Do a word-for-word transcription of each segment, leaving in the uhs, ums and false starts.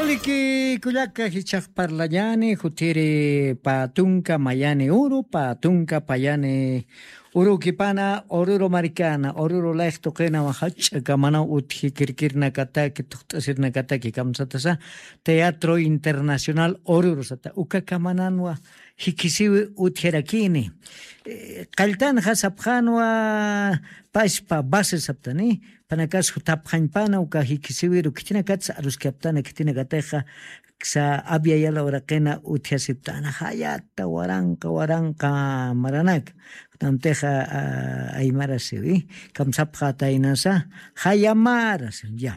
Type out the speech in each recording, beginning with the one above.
Liki kullaka jichhax parlañani jutiri pä tunka mayani uru pä tunka payani urukipana ururu marikana ururu layx tuqinawa jach'a kamanaw utji kirkirnakataki tuqt'asirnakataki kamsatasa teatro internacional ururu sata uka kamananwa jikisiwi utjirakini. Qalltanxa sapxanwa paspa base saptani panakas jutapxañpana uka jikisiwiru khitinakatsa aruskaptana khitinakatixa ksa abyayala uraqina utjasiptana jayata waranqa waranqa maranaka. Kunamtixa aymarasiwi kamsapxataynasa jayamarasi ya.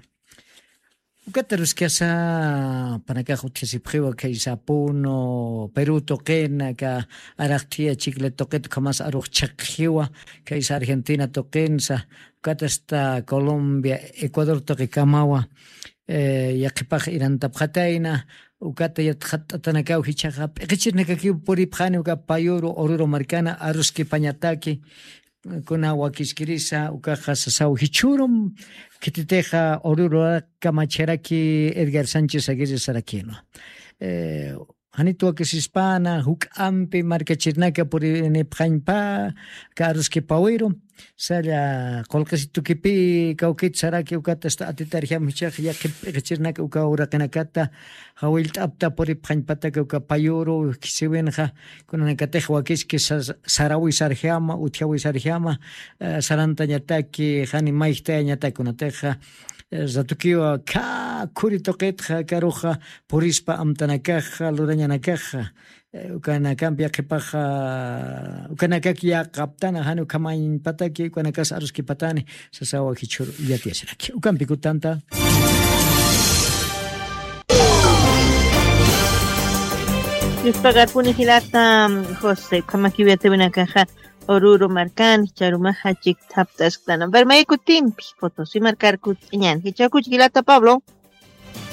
Ukata ruskasa panakax utjasipxiwa khaysa puno peru tuqina ka araqthiya chikli tuqit ukhamas arux chhaqjiwa khaysa argentina tuqinsa ukatasta colombia ecuador tuqikamawa. Yaqhipax irantapxatayna ukata yatxatt'atanakaw jichhaxa p'iqichirnakakiw puripxani uka payuru ururu markana aruskipañataki. Kuna wakiskirisa ukaxa sasaw jichhürum khititixa ururu kamachjaraki edgar sánchez aguirre sarakinwa. Janit wakisispana juk'ampi markachirnaka purinipxañpa ka aruskipawiru salla qullqisitukipï kawkit saraki ukatasta atitarjam jichhax yaqhip p'iqichirnaka uka uraqinakata jawillt'apta puripxañpataka uka payuru khisiwinxa. Kunanakatix wakiski sarawisarjama utjawisarjama sarantañataki jani mayjtayañatak kunatixa ratukiwa khä khuri tuqitxa karuxa purispa amtanakaxa lurañanakaxa. Ukanakampi yaqhipaxa ukanakak yaqaptana jani ukhamañpataki ukanakas aruskipatani sasawa jichhur yatiyasiraki ukampi kutanta. Yuspagarpuni jilata jose ukhamakiw yatiwinakaxa ururu markani charumaxa chikthapt'asktana permayakutimpi potosi markarkut'añan jichhakuch jilata pablo.